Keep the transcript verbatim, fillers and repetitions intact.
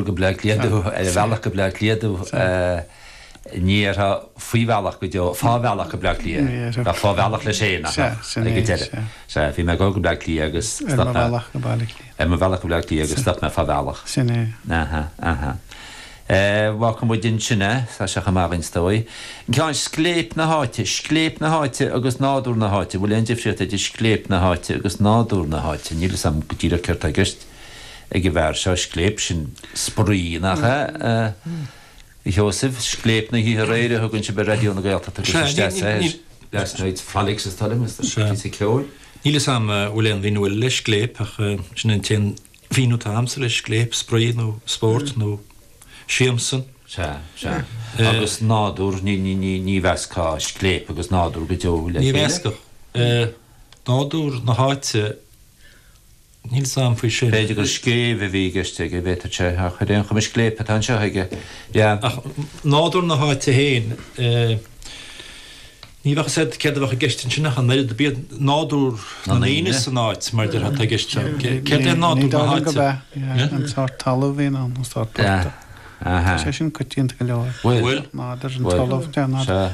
Go Bleá Cliath ar a bhealach go Bleá Cliath ní déarfá faoi bhealach go deo fá bhealach go Bleá Cliath Bheadh fá bhealach leis féin ag an deireadh. Sea, bhí mé ag dul go Bleá Cliath agus stop mé ar mo bhealach go Baile Átha Cliath. Ar mo bhealach go Bleá Cliath agus stop mé fá bhealach. Sin é. Aha, aha. Fágfaidh muid ansin é, tá sé chomh maith againn is dóigh. An ceann scléip na háite, scléip na háite agus nádúr na háite, bhfuil aon difríocht idir scléip na háite agus nádúr na háite? Níl fhios agam go díreach céard tá i gceist ag an bhfear seo, scléip, sin spraoi, nach ea? A Sheosaimh, scléip na hoíche aréir a thugann sibh ar Raidió na Gaeltachta agus isteach air Last Night's Frolics is dóigh liom, is píosa ceoil. Níl fhios agam an bhfuil aon mhíniú eile le scléip ach sin an t-aon mhíniú atá agamsa le scléip, spraoi nó spórt nó siamsa. Sea, sea. Agus nádúr, ní, ní, ní, ní mheascfá scléip agus nádúr go deo le Ní chéile. mheascfadh. Nádúr na háite, níl fhios agam faoi sin. B'fhéidir gur scéimh a bhí i gceist aige, b'fhéadfadh sé, ach ar aon chuma scléip atá anseo aige. Yeah. Ach nádúr na háite féin, ní bheadh fhios agat céard a bheadh i gceist ansin ach an oiread, b'iad nádúr na ndaoine san áit mar déarfá atá i gceist anseo. Céard é Ní nádúr na dóigh liom gurb háite? ea, an sórt talaimh a bhíonn ann, an sórt portach. Tá sé sin coitianta go leor. Bhfuil. Nádúr an talamh, nádúr. Sea.